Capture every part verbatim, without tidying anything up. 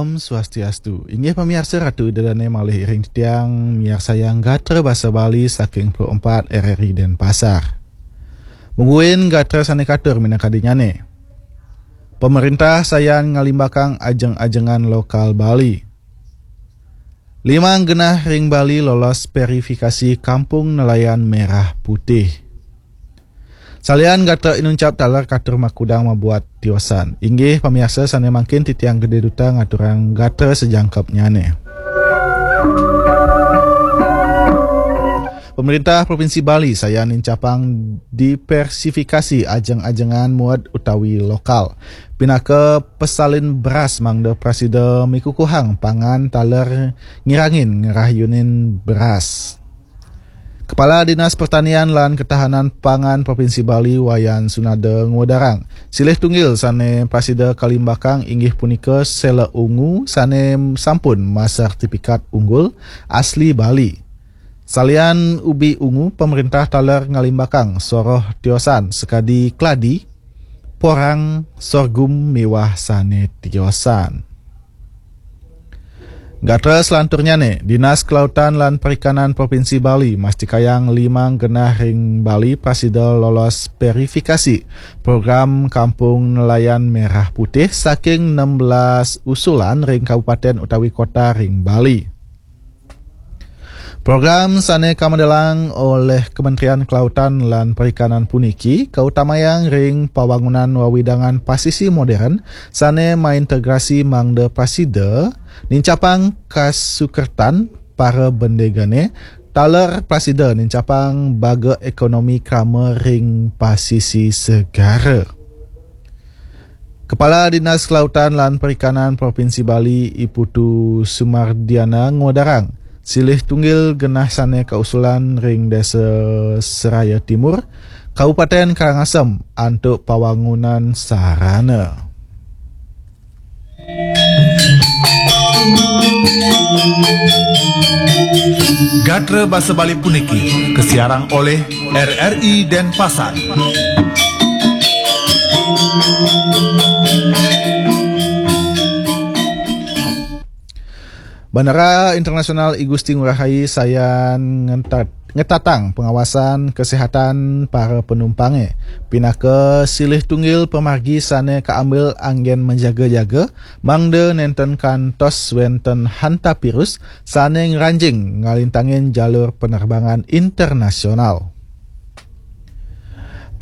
Om Swastiastu. Inggih pamiarsa, Ratu Ida Dane malih iring titiang miarsayang gatra basa Bali saking Pro empat R R I Denpasar. Mungguing gatra sane katur minakadinyane. Pemerintah sayan ngalimbakang ajeng-ajengan lokal Bali. Limang genah ring Bali lolos verifikasi Kampung Nelayan Merah Putih. Salian gatra inuncap taler katur makudang mabuat tiosan. Inggih pamiarsa sane mangkin titiang Gede Duta ngaturang gatra sajangkepnyane. Pemerintah Provinsi Bali sayan nincapang diversifikasi ajeng-ajengan muat utawi lokal. Pinaka pesalin beras mangda prasida mikukuhang pangan taler ngirangin ngrayunin beras. Kepala Dinas Pertanian lan Ketahanan Pangan Provinsi Bali Wayan Sunada ngudarang, silih tunggil sane prasida kalimbakang inggih punika sela ungu sane sampun masertifikat unggul asli Bali. Salian ubi ungu, pemerintah taler ngalimbakang soroh tiosan sakadi keladi, porang, sorghum miwah sane tiosan. Gatra selanturnyane, Dinas Kelautan lan Perikanan Provinsi Bali mastikayang limang genah ring Bali prasida lolos verifikasi program Kampung Nelayan Merah Putih saking enam belas usulan ring kabupaten utawi kota ring Bali. Program sane kamedelang olih Kementerian Kelautan lan Perikanan puniki kautamayang ring pawangunan wewidangan pasisi modern sane maintegrasi mangda prasida nincapang kasukertan para bendegane taler prasida nincapang baga ekonomi krama ring pasisi segara. Kepala Dinas Kelautan lan Perikanan Provinsi Bali, I Putu Sumardiana, ngudarang silih tunggil genah sane kausulan ring Desa Seraya Timur, Kabupaten Karangasem, antuk pawangunan sarana. Gatra basa Bali puniki kasiarang olih R R I Denpasar. Bandara Internasional I Gusti Ngurah Rai sayan ngentat-, ngetatang pengawasan kesehatan para penumpangnya. Pinaka silih tunggil pamargi sane kaambil anggen menjaga-jaga, mangda nenten kantos wenten hantavirus sane ngranjing ngalintangin jalur penerbangan internasional.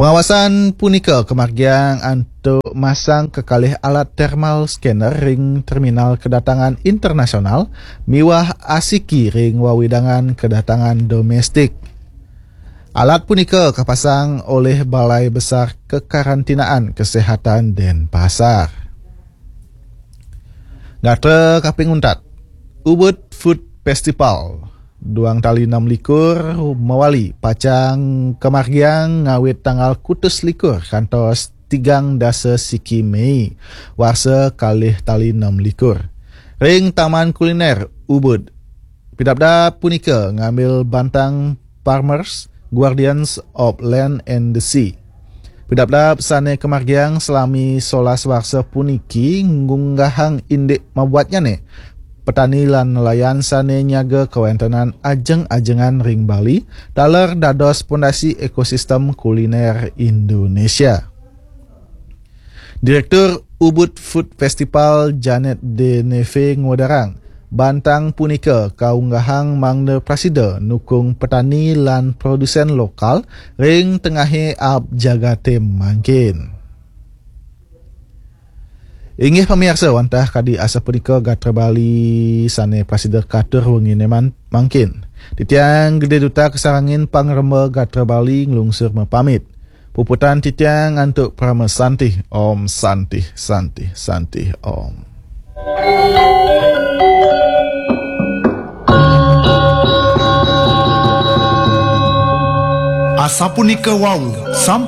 Pengawasan punika kamargiang antuk masang kekalih alat thermal scanner ring terminal kedatangan internasional miwah asiki ring wewidangan kedatangan domestik. Alat punika kapasang olih Balai Besar Kekarantinaan Kesehatan Denpasar. Gatra kaping untat, Ubud Food Festival duang tali enam likur mawali pacang kamargiang ngawit tanggal kutus likur kantos tigang dasa siki Mei warsa kalih tali enam likur ring Taman Kuliner Ubud. Pidabdab punika ngambil bantang Farmers, Guardians of Land and the Sea. Pidabdab sane kamargiang salami solas warsa puniki ngunggahang indik mabuatnyane petani lan nelayan sane nyaga kawentenan ajeng-ajengan ring Bali taler dados pondasi ekosistem kuliner Indonesia. Direktur Ubud Food Festival Janet Deneve ngudarang, bantang punika kaunggahang mangda prasida nukung petani lan produsen lokal ring tengahe aab jagate mangkin. Inggih pamiarsa, wantah kadi asapunika gatra Bali sane prasida katur wengine man-, mangkin. Titiang Gede Duta kasarengin pangremba gatra Bali nglungsur mapamit. Puputan titiang antuk parama santih. Om Santih, Santih, Santih, Om. Asapunika wau, sampun